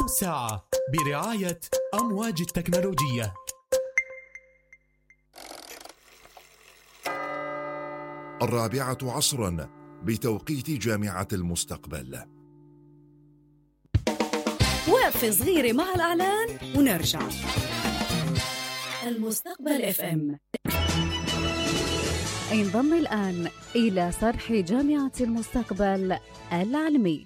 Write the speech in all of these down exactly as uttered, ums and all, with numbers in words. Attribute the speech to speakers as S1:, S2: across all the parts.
S1: ساعة برعاية أمواج التكنولوجية.
S2: الرابعة عصرا بتوقيت جامعة المستقبل.
S3: وقفة صغيرة مع الإعلان ونرجع. المستقبل اف ام
S4: انضم الآن إلى صرح جامعة المستقبل العلمي.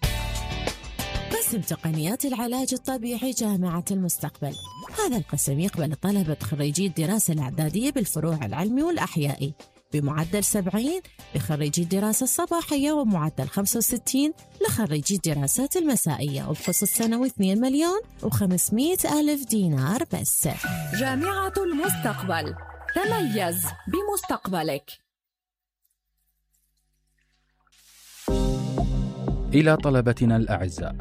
S5: قسم تقنيات العلاج الطبيعي جامعة المستقبل. هذا القسم يقبل طلبة خريجي الدراسة الإعدادية بالفروع العلمي والأحيائي بمعدل سبعين لخريجي الدراسة الصباحية ومعدل خمسة وستين لخريجي الدراسات المسائية، وبخص السنوي اثنين مليون وخمسمائة ألف دينار بس.
S3: جامعة المستقبل، تميز بمستقبلك.
S6: إلى طلبتنا الأعزاء،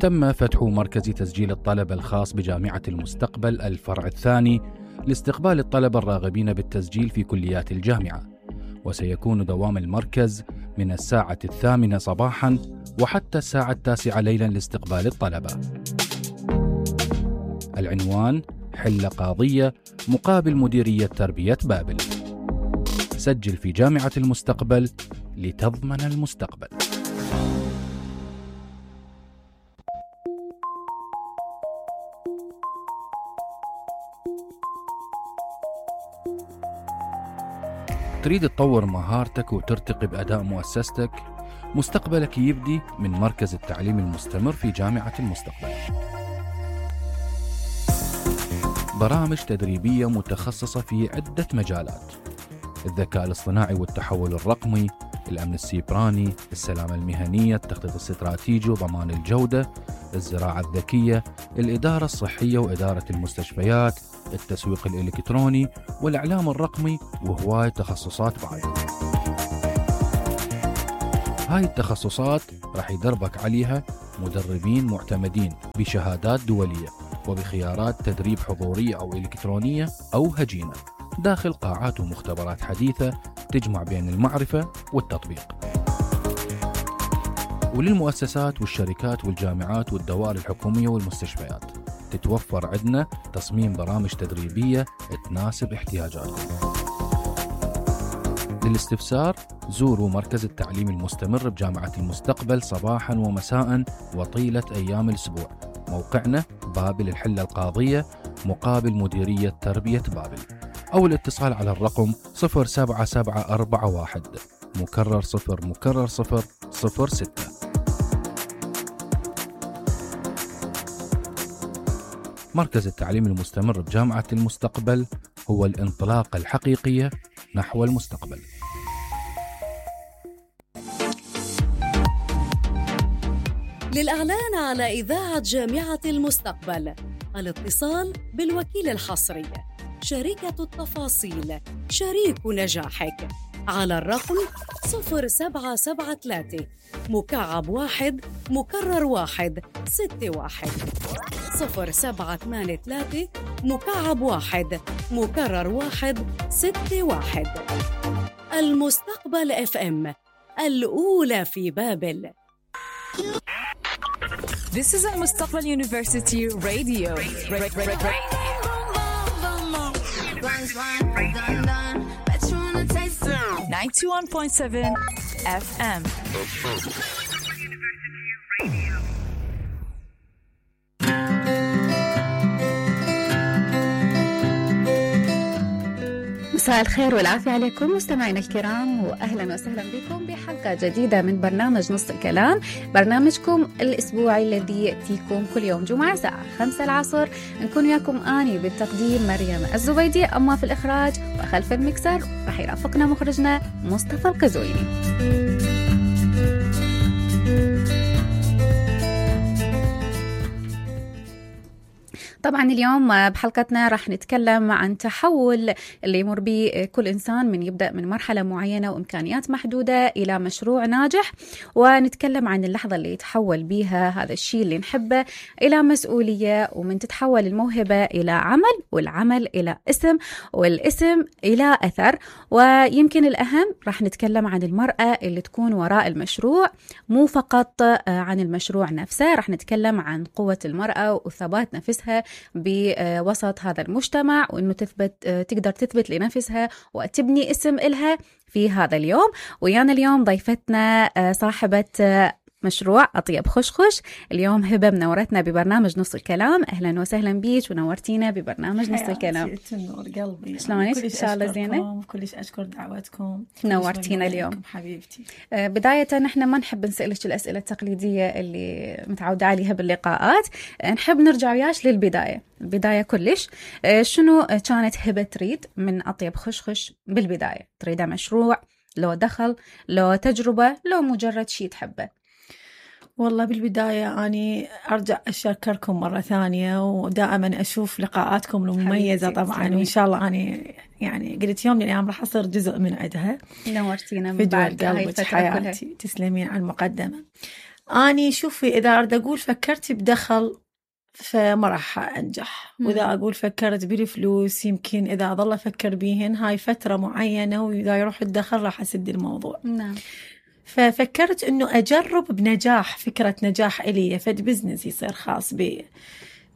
S6: تم فتح مركز تسجيل الطلبة الخاص بجامعة المستقبل الفرع الثاني لاستقبال الطلبة الراغبين بالتسجيل في كليات الجامعة، وسيكون دوام المركز من الساعة الثامنة صباحاً وحتى الساعة التاسعة ليلاً لاستقبال الطلبة. العنوان: حلة قاضية مقابل مديرية تربية بابل. سجل في جامعة المستقبل لتضمن المستقبل. تريد تطور مهارتك وترتقي بأداء مؤسستك؟ مستقبلك يبدي من مركز التعليم المستمر في جامعة المستقبل. برامج تدريبية متخصصة في عدة مجالات: الذكاء الاصطناعي والتحول الرقمي، الأمن السيبراني، السلامة المهنية، التخطيط الاستراتيجي وضمان الجودة، الزراعة الذكية، الإدارة الصحية وإدارة المستشفيات، التسويق الإلكتروني والإعلام الرقمي، وهواية تخصصات بعد. هاي التخصصات راح يدربك عليها مدربين معتمدين بشهادات دولية وبخيارات تدريب حضورية أو إلكترونية أو هجينة داخل قاعات ومختبرات حديثة تجمع بين المعرفة والتطبيق. وللمؤسسات والشركات والجامعات والدوائر الحكومية والمستشفيات تتوفر عندنا تصميم برامج تدريبية تناسب احتياجاتكم. للاستفسار زوروا مركز التعليم المستمر بجامعة المستقبل صباحا ومساء وطيلة أيام الأسبوع. موقعنا بابل الحلة القاضية مقابل مديرية تربية بابل، أو الاتصال على الرقم صفر سبعة سبعة أربعة واحد مكرر صفر مكرر صفر صفر ستة. مركز التعليم المستمر بجامعة المستقبل هو الانطلاقة الحقيقية نحو المستقبل.
S3: للإعلان على إذاعة جامعة المستقبل الاتصال بالوكيل الحصري، شركة التفاصيل، شريك نجاحك، على الرقم صفر سبعة سبعة ثلاثة مكعب واحد مكرر واحد ستة واحد، صفر سبعة ثمانية ثلاثة مكعب واحد مكرر واحد ستة واحد. المستقبل اف ام، الأولى في بابل.
S7: This is المستقبل University Radio. ninety-one point seven F M.
S4: مساء الخير والعافية عليكم مستمعينا الكرام، وأهلا وسهلا بكم بحلقة جديدة من برنامج نص الكلام، برنامجكم الأسبوعي الذي يأتيكم كل يوم جمعة الساعة خمسة العصر. نكون وياكم آني بالتقديم مريم الزبيدي، أما في الإخراج وخلف المكسر رح يرافقنا مخرجنا مصطفى القزويني. طبعا اليوم بحلقتنا راح نتكلم عن تحول اللي يمر به كل إنسان من يبدأ من مرحلة معينة وإمكانيات محدودة إلى مشروع ناجح، ونتكلم عن اللحظة اللي يتحول بيها هذا الشيء اللي نحبه إلى مسؤولية، ومن تتحول الموهبة إلى عمل، والعمل إلى اسم، والاسم إلى أثر. ويمكن الأهم راح نتكلم عن المرأة اللي تكون وراء المشروع، مو فقط عن المشروع نفسه. راح نتكلم عن قوة المرأة وثبات نفسها بوسط هذا المجتمع، وإنه تثبت تقدر تثبت لنفسها وتبني اسم إلها في هذا اليوم. ويانا اليوم ضيفتنا صاحبة مشروع أطيب خشخش. اليوم هبة منورتنا ببرنامج نص الكلام. أهلا وسهلا بيك ونورتينا ببرنامج نص الكلام.
S8: تنور قلبي.
S4: شلونك؟ إن شاء الله زينة.
S8: كلش أشكر دعوتكم.
S4: نورتينا اليوم
S8: حبيبتي.
S4: بداية نحن ما نحب نسألك الأسئلة التقليدية اللي متعودة عليها باللقاءات، نحب نرجع وياش للبداية. البداية كلش شنو كانت هبة تريد من أطيب خشخش بالبداية؟ تريده مشروع، لو دخل، لو تجربة، لو مجرد شيء تحبه؟
S8: والله بالبداية أني أرجع أشكركم مرة ثانية، ودائما أشوف لقاءاتكم المميزة طبعا، وإن شاء الله أني يعني قلت يوم من الأيام راح أصير جزء من عدها.
S4: نورتينا
S8: من بعد قلبك حياتي. تسلمين على المقدمة. أني شوفي، إذا أرد أقول فكرت بدخل فما راح أنجح، وإذا أقول فكرت بالفلوس يمكن إذا أظل أفكر بيهن هاي فترة معينة، وإذا يروح الدخل راح أسد الموضوع.
S4: نعم.
S8: ففكرت إنه أجرب بنجاح، فكرة نجاح إلي فد بزنس يصير خاص بي،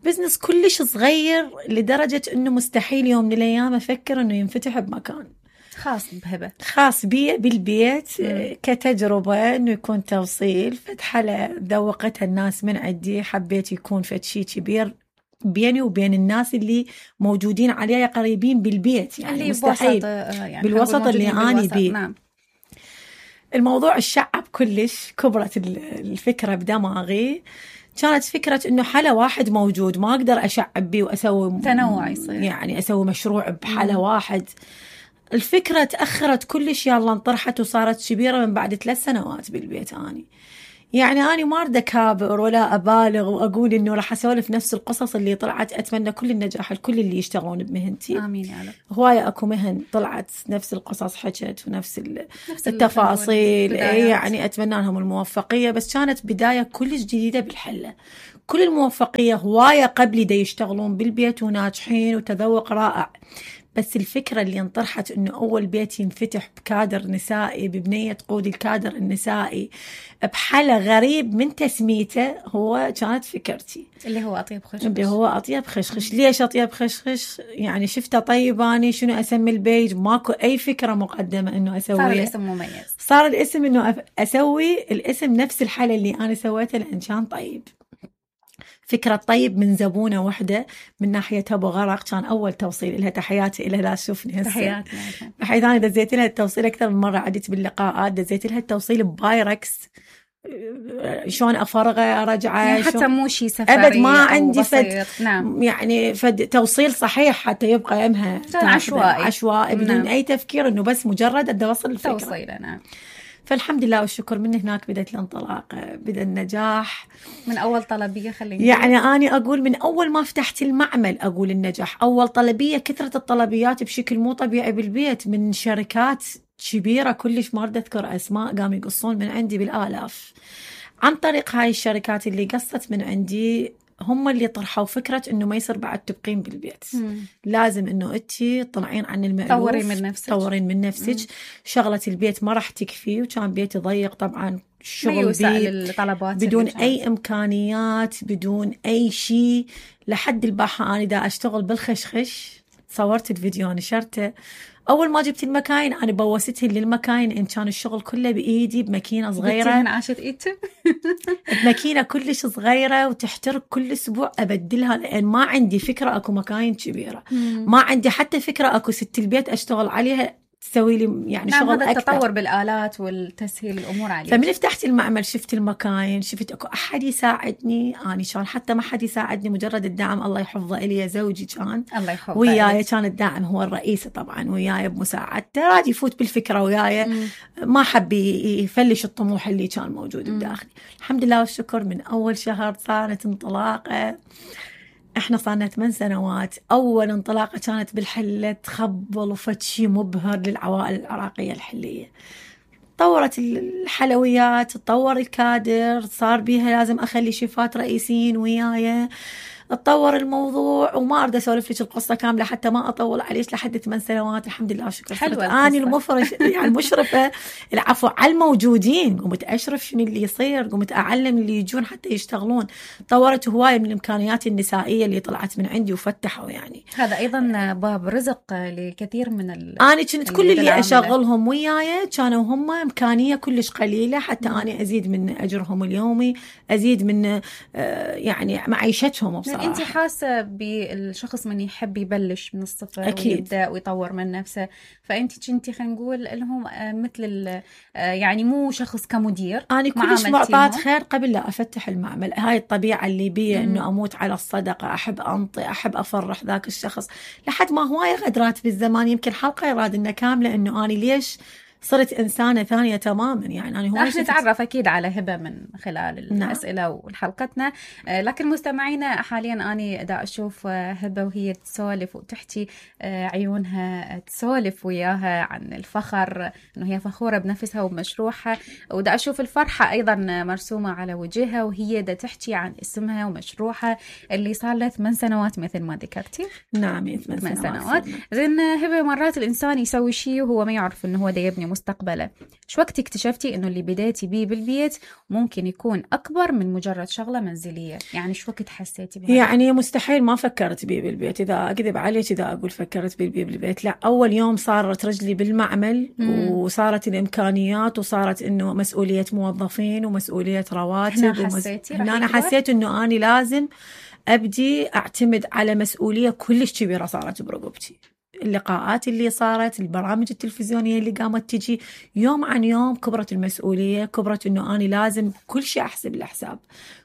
S8: بزنس كلش صغير لدرجة إنه مستحيل يوم من الأيام أفكر إنه ينفتح بمكان
S4: خاص بهبة،
S8: خاص بي بالبيت. مم. كتجربة إنه يكون توصيل فد حلا ذوقتها الناس من عندي، حبيت يكون فد شي كبير بيني وبين الناس اللي موجودين عليها قريبين بالبيت، يعني اللي مستحيل يعني بالوسط اللي أنا بيه. نعم. الموضوع الشعب كلش، كبرت الفكرة بدماغي. كانت فكرة إنه حلا واحد موجود ما أقدر أشعب بيه وأسوي
S4: تنوع يصير،
S8: يعني أسوي مشروع بحلا واحد. الفكرة تأخرت كلش، يلا انطرحت وصارت كبيرة من بعد ثلاث سنوات بالبيت. أني يعني أنا ما أريد أكابر ولا أبالغ وأقول إنه راح أسولف نفس القصص اللي طلعت. أتمنى كل النجاح لكل اللي يشتغلون بمهنتي.
S4: آمين يا رب.
S8: هواية أكو مهن طلعت نفس القصص حكت ونفس التفاصيل، يعني أتمنى لهم الموفقية. بس كانت بداية كلش جديدة بالحلة. كل الموفقية هواية قبلي دا يشتغلون بالبيت وناجحين وتذوق رائع، بس الفكرة اللي انطرحت إنه أول بيت ينفتح بكادر نسائي، ببنية تقود الكادر النسائي بحالة غريب من تسميته، هو كانت فكرتي
S4: اللي هو أطيب خشخش.
S8: اللي هو أطيب خشخش. ليش أطيب خشخش؟ يعني شفته طيب أني شنو أسمي البيج، ماكو أي فكرة مقدمة إنه أسويها.
S4: صار الاسم مميز،
S8: صار الاسم إنه أسوي الاسم نفس الحالة اللي أنا سويتها لأن كان طيب. فكرة طيب من زبونة واحدة من ناحية أبو غرق، كان أول توصيل لها. تحياتي إلها، لا تشوفني هسه.
S4: تحياتي.
S8: بحيث أنا دزيت لها التوصيل أكثر من مرة، عدت باللقاءات دزيت لها التوصيل ببايركس، شلون أفرغه أرجعه،
S4: يعني حتى مو شيء سفري
S8: أبد ما عندي فد.
S4: نعم.
S8: يعني فد توصيل صحيح حتى يبقى يمها
S4: عشوائي
S8: عشوائي بدون
S4: نعم.
S8: أي تفكير، إنه بس مجرد أدي أوصل الفكرة.
S4: توصيله. نعم.
S8: فالحمد لله والشكر من هناك بدأت الانطلاق، بدأ النجاح
S4: من أول طلبية. خليني
S8: يعني أنا أقول من أول ما فتحت المعمل أقول النجاح. أول طلبية، كثرة الطلبيات بشكل مو طبيعي بالبيت من شركات كبيرة كلش ما أريد أذكر أسماء، قاموا يقصون من عندي بالآلاف. عن طريق هاي الشركات اللي قصت من عندي هم اللي طرحوا فكرة إنه ما يصير بعد تبقين بالبيت. مم. لازم إنه أنتي طلعين عن المألوف،
S4: طورين من نفسك،
S8: طورين من نفسك. مم. شغلة البيت ما راح تكفي، وكان بيتي ضيق طبعا، الشغل
S4: الطلبات
S8: بدون أي إمكانيات، بدون أي شيء. لحد الباحة أنا دا أشتغل بالخشخش، صورت الفيديو نشرته. أول ما جبت المكاين أنا بوستهن للمكاين، إن كان الشغل كله بإيدي بماكينة صغيرة.
S4: عاشت إيدتم
S8: بماكينة كلش صغيرة وتحترق كل أسبوع أبدلها، لأن ما عندي فكرة أكو مكاين كبيرة. مم. ما عندي حتى فكرة أكو ست البيت أشتغل عليها تسوي لي يعني
S4: نعم.
S8: شغل
S4: هذا
S8: أكثر.
S4: التطور بالآلات والتسهيل الأمور عليه.
S8: فمن فتحت المعمل شفت المكاين، شفت أكو أحد يساعدني. أنا كان حتى ما حد يساعدني، مجرد الدعم الله يحفظه إلي زوجي كان
S4: الله يحفظه
S8: وياي، كان الدعم هو الرئيسي طبعا وياي بمساعدته، راد يفوت بالفكرة وياي. ما حب يفلش الطموح اللي كان موجود بداخلي. الحمد لله والشكر من أول شهر صارت انطلاقة. احنا صارنا ثمان سنوات. اول انطلاقه كانت بالحله تخبل وفد شيء مبهر للعوائل العراقيه الحليه. تطورت الحلويات، تطور الكادر، صار بيها لازم اخلي شيفات رئيسيين وياي، تطور الموضوع. وما اريد اسولف لك القصه كامله حتى ما اطول عليك. لحد ثمان سنوات الحمد لله شكرا
S4: حلوة
S8: اني المفرش يعني المشرفه العفو على الموجودين، قمت اشرف شنو اللي يصير، قمت اعلم اللي يجون حتى يشتغلون. طورت هوايه من الامكانيات النسائيه اللي طلعت من عندي وفتحوا يعني.
S4: هذا ايضا باب رزق لكثير من ال
S8: انا كنت كل اللي اشغلهم وياي كانوا هم امكانيه كلش قليله حتى انا ازيد من اجرهم اليومي، ازيد من يعني معيشتهم. بصراحه
S4: انت حاسه بالشخص من يحب يبلش من الصفر
S8: أكيد.
S4: ويبدا ويطور من نفسه، فانت كنتي خلينا نقول لهم مثل يعني مو شخص كمدير.
S8: انا كلش معطات خير قبل لا افتح المعمل. هاي الطبيعه اللي بي انه اموت على الصدقه، احب انطي، احب افرح ذاك الشخص، لحد ما هوايه غدرات بالزمان. يمكن حلقه يراد انه كامله انه انا ليش صرت إنسانة ثانية تماما. يعني أنا هو
S4: راح نتعرف أكيد على هبة من خلال الأسئلة نعم. وحلقتنا. لكن مستمعينا حاليا أنا دا أشوف هبة وهي تسولف وتحكي عيونها تسولف وياها عن الفخر، إنه هي فخورة بنفسها وبمشروعها، ودا أشوف الفرحة أيضا مرسومة على وجهها وهي دا تحكي عن اسمها ومشروعها اللي صار له ثمان سنوات مثل ما ذكرتي.
S8: نعم ثمان
S4: سنوات. زين هبة، مرات الإنسان يسوي شيء وهو ما يعرف إنه هو دا يبني مستقبله. شو وقت اكتشفتي انه اللي بديتي بيه بالبيت ممكن يكون اكبر من مجرد شغله منزليه؟ يعني شو وقت حسيتي بهذا؟
S8: يعني مستحيل ما فكرت بيه بالبيت. اذا اكذب عليك اذا اقول فكرت بيه بالبيت، لا. اول يوم صارت رجلي بالمعمل مم. وصارت الامكانيات وصارت انه مسؤوليه موظفين ومسؤوليه رواتب.
S4: هنا حسيتي
S8: ومس... انا حسيت انه اني لازم ابدي اعتمد على مسؤوليه كلش كبيره صارت برقبتي. اللقاءات اللي صارت، البرامج التلفزيونية اللي قامت تجي، يوم عن يوم كبرت المسؤولية، كبرت انه انا لازم كل شيء احسب الحساب،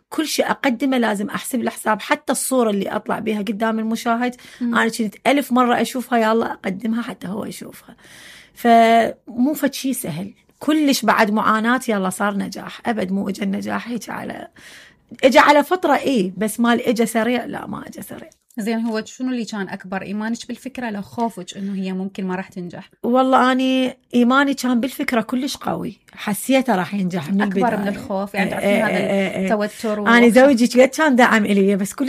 S8: كل شيء اقدمه لازم احسب الحساب. حتى الصورة اللي اطلع بها قدام المشاهد م. انا كنت الف مرة اشوفها يلا اقدمها حتى هو يشوفها. فمو فد شيء سهل كلش. بعد معاناة يلا صار نجاح. ابد مو اجى النجاح هيك على اجى على فترة ايه، بس مال اجى سريع لا، ما اجى سريع.
S4: زين، هو شنو اللي كان أكبر إيمانك بالفكرة لو خوفك إنه هي ممكن ما راح تنجح؟
S8: والله أنا إيماني كان بالفكرة كلش قوي، حسيته راح ينجح من
S4: أكبر
S8: البداية.
S4: من الخوف يعني. تعرفين هذا التوتر.
S8: أنا زوجي كان دعم إلي بس كل